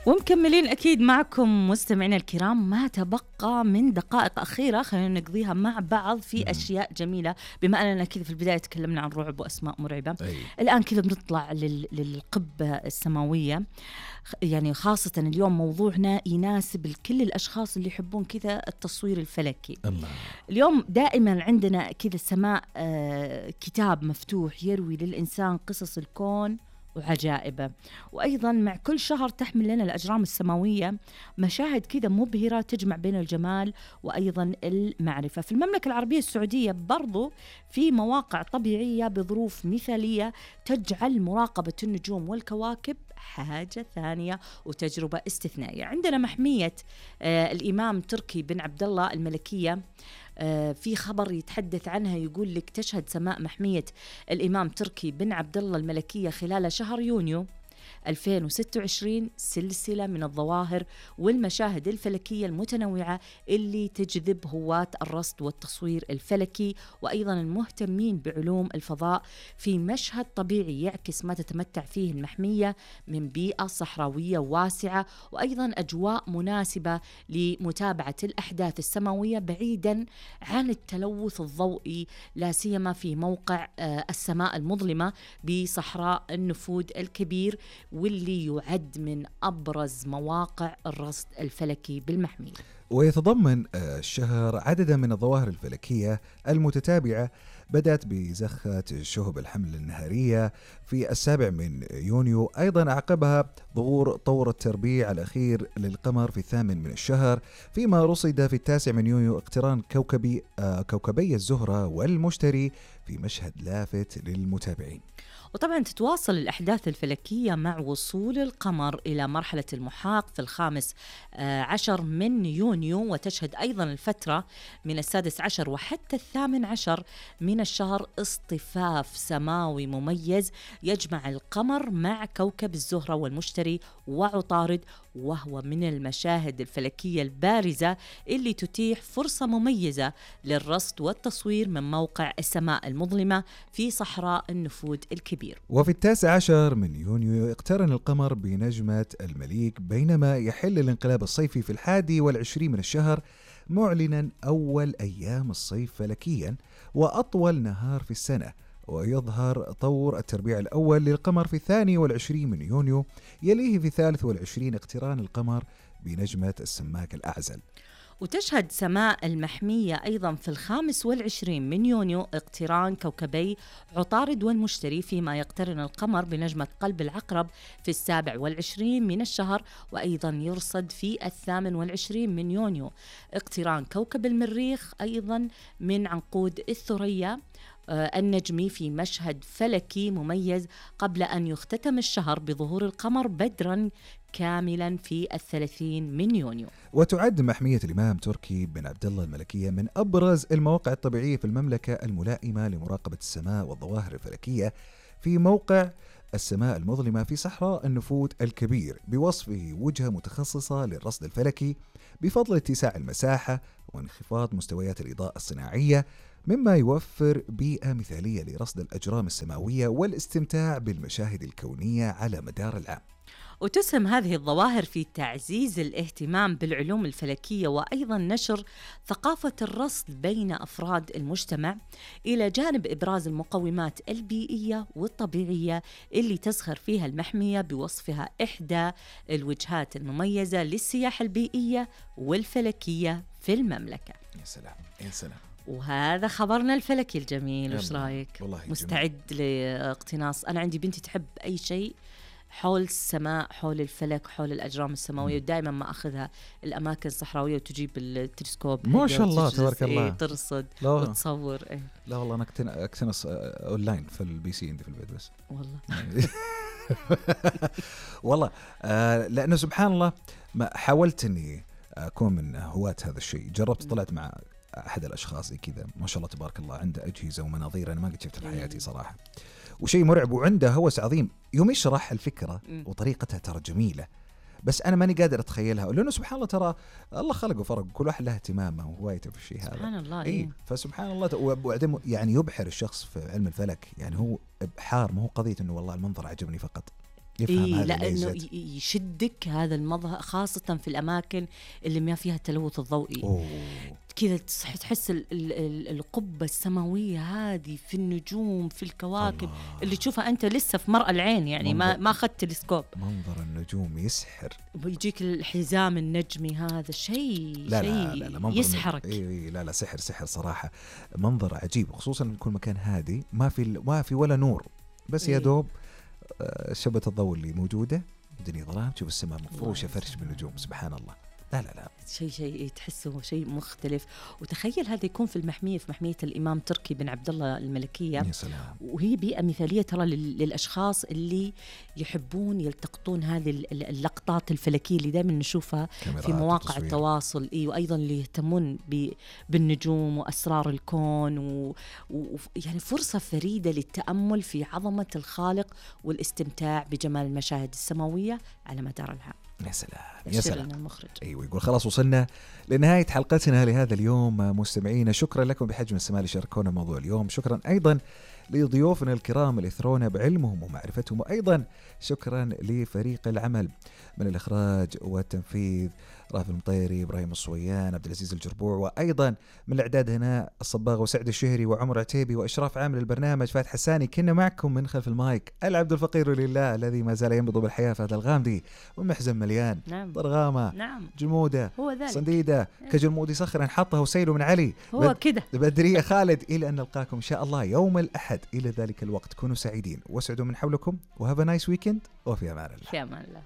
ومكملين أكيد معكم مستمعينا الكرام. ما تبقى من دقائق أخيرة خلينا نقضيها مع بعض في أشياء جميلة. بما أننا كذا في البداية تكلمنا عن رعب وأسماء مرعبة، الآن كذا بنطلع للقبة السماوية. يعني خاصة اليوم موضوعنا يناسب كل الأشخاص اللي يحبون كذا التصوير الفلكي. الله. اليوم دائما عندنا كذا السماء كتاب مفتوح يروي للإنسان قصص الكون وعجائبه، وأيضا مع كل شهر تحمل لنا الأجرام السماوية مشاهد كذا مبهرة تجمع بين الجمال وأيضا المعرفة. في المملكة العربية السعودية برضو في مواقع طبيعية بظروف مثالية تجعل مراقبة النجوم والكواكب حاجة ثانية وتجربة استثنائية. عندنا محمية الإمام تركي بن عبد الله الملكية، في خبر يتحدث عنها يقول لك تشهد سماء محمية الإمام تركي بن عبد الله الملكية خلال شهر يونيو 2026 سلسلة من الظواهر والمشاهد الفلكية المتنوعة اللي تجذب هواة الرصد والتصوير الفلكي وأيضا المهتمين بعلوم الفضاء في مشهد طبيعي يعكس ما تتمتع فيه المحمية من بيئة صحراوية واسعة وأيضا أجواء مناسبة لمتابعة الأحداث السماوية بعيدا عن التلوث الضوئي، لا سيما في موقع السماء المظلمة بصحراء النفود الكبير، واللي يعد من أبرز مواقع الرصد الفلكي بالمحمية. ويتضمن الشهر عددا من الظواهر الفلكية المتتابعة، بدأت بزخة شهب الحمل النهارية في 7 يونيو. أيضا أعقبها ظهور طور التربيع الأخير للقمر في 8 من الشهر، فيما رصد في 9 يونيو اقتران كوكبي الزهرة والمشتري في مشهد لافت للمتابعين. وطبعا تتواصل الأحداث الفلكية مع وصول القمر إلى مرحلة المحاق في 15 من يونيو، وتشهد أيضا الفترة من 16 وحتى 18 من الشهر اصطفاف سماوي مميز يجمع القمر مع كوكب الزهرة والمشتري وعطارد، وهو من المشاهد الفلكية البارزة اللي تتيح فرصة مميزة للرصد والتصوير من موقع السماء المظلمة في صحراء النفود الكبير. وفي 19 من يونيو اقترن القمر بنجمة المليك، بينما يحل الانقلاب الصيفي في 21 من الشهر، معلنا أول أيام الصيف فلكيا وأطول نهار في السنة. ويظهر طور التربيع الأول للقمر في 22 من يونيو، يليه في 23 اقتران القمر بنجمة السماك الأعزل. وتشهد سماء المحمية أيضا في 25 من يونيو اقتران كوكبي عطارد والمشتري، فيما يقترن القمر بنجمة قلب العقرب في 27 من الشهر. وأيضا يرصد في 28 من يونيو اقتران كوكب المريخ أيضا من عنقود الثريا النجمي في مشهد فلكي مميز، قبل أن يختتم الشهر بظهور القمر بدرا كاملا في 30 من يونيو. وتعد محمية الإمام تركي بن عبد الله الملكية من أبرز المواقع الطبيعية في المملكة الملائمة لمراقبة السماء والظواهر الفلكية، في موقع السماء المظلمة في صحراء النفود الكبير، بوصفه وجهة متخصصة للرصد الفلكي بفضل اتساع المساحة وانخفاض مستويات الإضاءة الصناعية، مما يوفر بيئة مثالية لرصد الأجرام السماوية والاستمتاع بالمشاهد الكونية على مدار العام. وتسهم هذه الظواهر في تعزيز الاهتمام بالعلوم الفلكية وأيضا نشر ثقافة الرصد بين أفراد المجتمع، إلى جانب إبراز المقومات البيئية والطبيعية اللي تزخر فيها المحمية بوصفها إحدى الوجهات المميزة للسياحة البيئية والفلكية في المملكة. يا سلام يا سلام. وهذا خبرنا الفلكي الجميل. وش رايك؟ مستعد جميل. لاقتناص؟ أنا عندي بنتي تحب أي شيء حول السماء، حول الفلك، حول الأجرام السماوية، ودائما ما أخذها الأماكن الصحراوية وتجيب التلسكوب ما شاء الله تبارك الله، ترصد وتصور. لا والله أنا أكتنص أونلاين في البي سي عندي في البيت بس والله والله لأنه سبحان الله ما حاولت أني أكون من هواة هذا الشيء. جربت طلعت مع أحد الأشخاص كذا ما شاء الله تبارك الله عنده أجهزة ومناظير أنا ما قد شفتها في حياتي صراحة، وشيء مرعب، وعنده هوس عظيم. يوم يشرح الفكرة وطريقتها ترى جميلة، بس أنا ماني قادر أتخيلها، لأنه سبحان الله ترى الله خلق وفرق، كل واحد له اهتمامه وهوايته في الشيء هذا. سبحان الله. إيه فسبحان الله. وبعدين يعني يبحر الشخص في علم الفلك، يعني هو إبحار، ما هو قضية إنه والله المنظر عجبني فقط. يفهم إيه هذه لأنه الميزات. يشدك هذا المظهر، خاصة في الأماكن اللي ما فيها التلوث الضوئي. أوه. كذا تحس القبة السماوية هذه في النجوم في الكواكب الله. اللي تشوفها أنت لسه في مرأى العين، يعني ما أخذت تلسكوب. منظر النجوم يسحر. ويجيك الحزام النجمي هذا شيء منظر يسحرك. لا سحر صراحة، منظر عجيب، خصوصا يكون مكان هادي ما في ولا نور، بس يا دوب شبة الضوء اللي موجودة، الدنيا ظلام، تشوف السماء مفروشة فرش بالنجوم. سبحان الله. لا شيء تحسه شيء مختلف. وتخيل هذا يكون في محمية الإمام تركي بن عبد الله الملكية. يا سلام. وهي بيئة مثالية ترى للأشخاص اللي يحبون يلتقطون هذه اللقطات الفلكية اللي دائما نشوفها في مواقع التواصل. وأيضا اللي يهتمون بالنجوم وأسرار الكون يعني فرصة فريدة للتأمل في عظمة الخالق والاستمتاع بجمال المشاهد السماوية على مدار العام. يا سلام. المخرج. أيوة، يقول خلاص وصلنا لنهاية حلقتنا لهذا اليوم مستمعينا. شكرا لكم بحجم السماء اللي شاركونا موضوع اليوم. شكرا أيضا لضيوفنا الكرام اللي اثرونا بعلمهم ومعرفتهم، وأيضا شكرا لفريق العمل من الإخراج والتنفيذ، رافل المطيري، إبراهيم الصويان، عبد العزيز الجربوع، وأيضا من الإعداد هنا الصباغ وسعد الشهري وعمر عتيبي، وإشراف عامل البرنامج فاتح حساني. كنا معكم من خلف المايك العبد الفقير لله الذي ما زال ينبض بالحياة، فهذا الغامدي ومحزن مليان. نعم. ضرغامة. نعم. جمودة. هو ذلك. صنديدة. كجلمودي صخرا حطه وسيله من علي. هو كده. بدرية خالد. إلى أن نلقاكم إن شاء الله يوم الأحد. إلى ذلك الوقت كونوا سعيدين واسعدوا من حولكم، وهاف نايس ويكند، وفي أمان الله. في أمان الله.